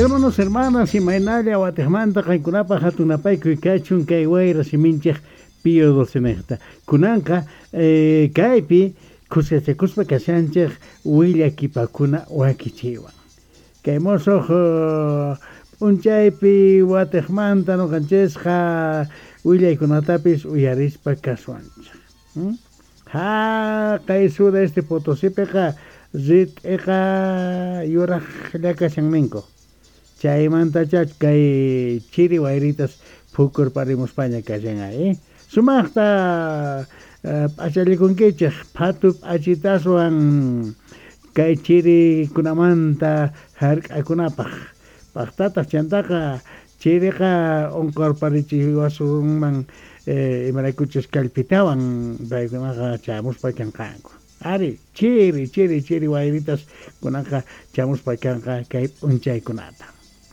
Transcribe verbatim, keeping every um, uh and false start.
Hermanos, hermanas, imaynalla watejmanta qankunapaj hatunapaykuy kachun kay wayra siminchej Pío doce. Kunanqa eh, kaypi khuskachakuspa kashanchej willakipakuna wakichiwan. Kay mosoj p'unchaypi watejmanta noqanchesqa willaykunatapis uyarispa kasuanchej. Hmm? Ha, kay sudeste Potosipiqa rit'iqa yurajlla kashan ninku. Chaymantacha kay chiri wayritas phukurparimuspaña kashan eh? Sumaqta p'achallikunkichej phatu p'achitaswan kay chirikunamanta hark'akunapaj. Paqtataq chantaqa chiriqa unqurparichiwasunman eh, imaraykuchus kallpitawan paykunaqa chamuspa kanqanku. Ari, chiri, chiri, chiri wayritas kunaqa chamuspa kanqa kay p'unchaykunata.